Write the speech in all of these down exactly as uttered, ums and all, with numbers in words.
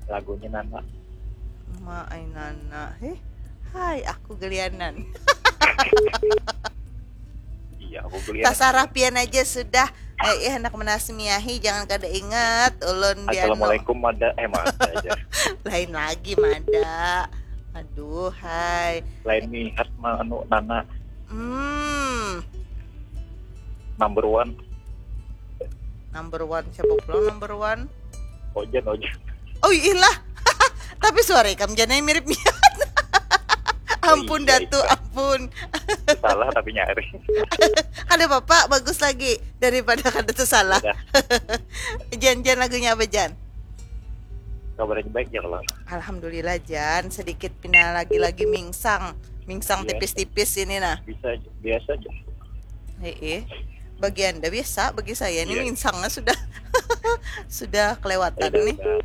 Lagunya Nana. Ma ai Nana. Heh. Hai, aku gelianan. Iya, aku gelianan. Tasarah pian aja sudah. Eh, eh, anak menasmiahi, jangan kada ingat ulun. Assalamualaikum, mada. Eh, mada aja. Lain lagi, mada. Aduh, hai. Lain nihat mah anu Nana. Hmm. Number one. Number one, siapa pulang number one? Ojan, Ojan. Oh iyalah. Tapi suara ikam janai mirip niat. Ampun, Iya, Datu, iya. Ampun. Salah tapi nyaring. Ada bapak bagus lagi daripada kada tuh salah. Udah. Jan, Jan, lagunya apa, Jan? Kabarnya baik ya kalau. Alhamdulillah, Jan. Sedikit pina lagi-lagi mingsang. Mingsang Iya. Tipis-tipis ini nah. Bisa aja, biasa aja. Heeh. Bagi Anda biasa, bagi saya ini Iya. mingsangnya sudah sudah kelewatan Udah, nih. Udah,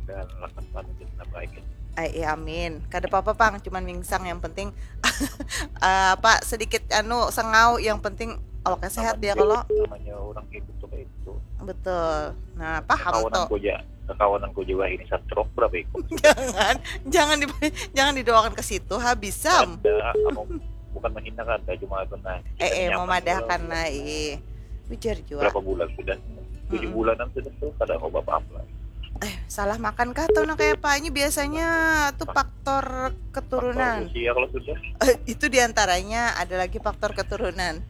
udah lakukan itu sudah baik. Ai, iya, amin. Kada apa-apa, Pang, cuman mingsang yang penting eh, apa sedikit anu sengau, yang penting awaknya sehat dia kalau. Namanya orang hidup tuh kayak itu. Betul. Nah, paham Kawanan tuh. Aja, kawanan ku juga ini stroke berapa ikut? Jangan, jangan di, jangan didoakan ke situ, habis sam. Ada, aku bukan menghina kan, ada cuma kena. Eh, eh, Nyaman memadahkan kalau lah, eh. Ujar juga. Berapa bulan sudah? Tujuh Mm-mm. Bulanan sudah tuh, kada ada apa-apa. Eh, salah makan kah tuh, nah, kayak apa? Ini biasanya tuh faktor keturunan. Faktor usia kalau sudah. Eh, itu diantaranya, ada lagi faktor keturunan.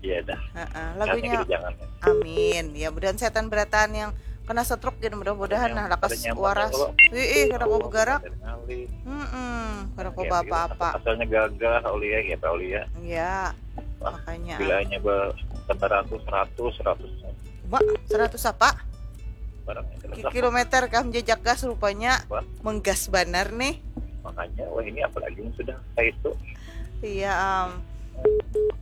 Iya dah. Heeh, Jangan lagunya gitu, jangan ya. Amin. Ya, mudahan setan berataan yang kena stroke gini, mudah-mudahan Ada nah nyam-, lakas ada nyamuk waras. kalau Ih, ih, kada tahu kau begarak. Ada ngalih. Mm-mm, kada kau Ya, baapa-apa. Asalnya gagah, Aulia, ya, Aulia. Ya, Wah, makanya. Bilanya be kendaraan tuh seratus, seratus. Ba, seratus apa? Barang yang Ki- seratus. Kilometer kah menjejak gas rupanya. Wah. Menggas banar nih. Makanya, wah, ini apalagi yang sudah kayak itu. Iya, am.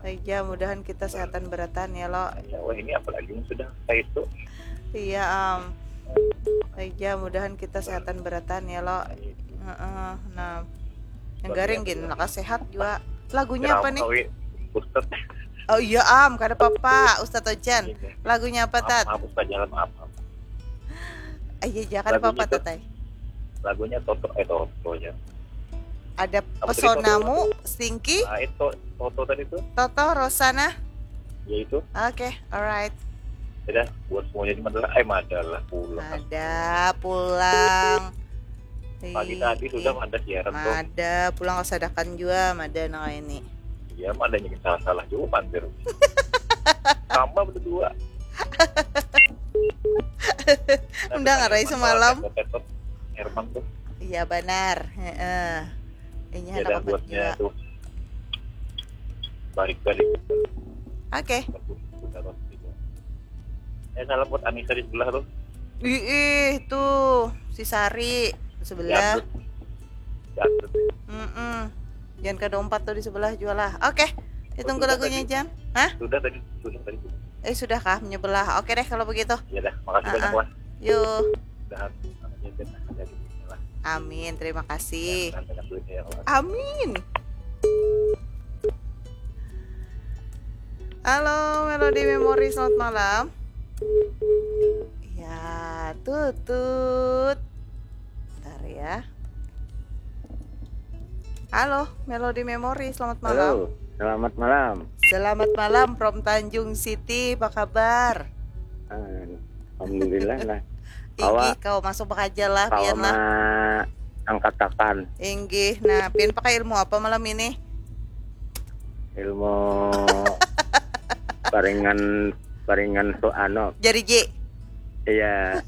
Aja mudahan kita sehatan beratan ya lo. Makanya, wah, ini apalagi yang sudah kayak itu. Iya, am. Aja mudahan kita sehatan beratan ya lo. Heeh, nah. Yang garing gini, lakas sehat juga. Lagunya apa nih? Ustad. Oh iya, am, kada apa-apa, Ustadz Ojan. Iya. Lagunya apa, Maaf, Tat? Maaf, Ustaz, jalan, maaf, maaf. Iya, iya, kada apa-apa, Lagunya tuh, Tatai. Lagunya Toto, eh, Toto ya. Ada Apa tadi, Pesonamu, Stinky, Ah, itu Toto tadi tuh. Toto, Rosana. Ya itu. Oke, alright. Ya dah, buat semuanya di Madura, eh, Madura pulang. Ada pulang. Pagi tadi sudah ada siaran tuh. Ada pulang kesadakan juga, ada nang ini. Iya, mah ada yang salah-salah juga, pandir. Sama berdua. Undang arai semalam. Herman tuh. Iya, benar. Heeh. Ini Ya ada dah, apa buatnya juga? Tuh. Balik-balik. Oke. Eh, salam buat Anissa di sebelah tuh. Ih, ih, tuh si Sari sebelah. Jadut. Jadut. Mm-mm. Jangan kada umpat tuh di sebelah juga lah. Oke, ditunggu Sudah lagunya, tadi. Jan. Hah? Sudah tadi, sudah tadi. Eh, sudah kah menyebelah? Oke deh kalau begitu. Ya dah, makasih Ah, banyak, ah. Wah. Yuk. Udahan aja deh, ada di sini lah. Amin, terima kasih. Mudahan banyak duitnya ya, Wah. Amin. Halo, Melody Memory, selamat malam. Ya, tutut. Bentar ya. Halo, Melody Memory, selamat malam. Halo, selamat malam. Selamat malam from Tanjung City, apa kabar? Ah, Alhamdulillah lah. Inggih, kau masuk bakaja lah, Kawa pian lah. Angkatakan. Inggih, nah, pian pakai ilmu apa malam ini? Ilmu paringan paringan tu anu. Jariji. Iya.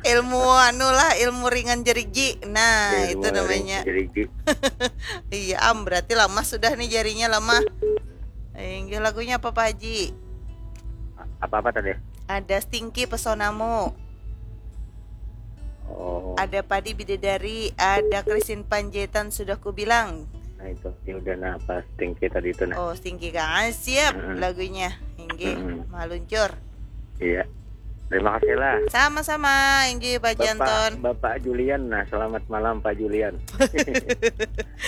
Ilmu anu lah, ilmu ringan jariji. Nah, Ilmu itu namanya. Ringan jariji. Iya, am, berarti lamah sudah nih jarinya, lamah. Inggih, lagunya apa, Pak Haji? Apa-apa tadi? Ada Stinky, Pesonamu. Oh, Ada Padi Bidadari, ada Christine Panjaitan, Sudah Kubilang. Nah itu. Ya udah, nah, pas Stinky tadi itu, nah. Oh, Stinky, Kang. Ah, siap Mm-mm. Lagunya. Inggih, Mm-mm. maluncur. Iya. Terima kasih lah. Sama-sama, inggih, Pak Janton. Bapak Julian, nah, selamat malam, Pak Julian.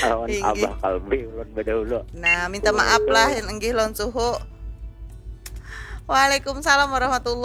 Lawan Inggih. Abah Kalbi ulun badahulu. Nah, minta maaf lah, inggih, lawan suhu. Waalaikumsalam warahmatullahi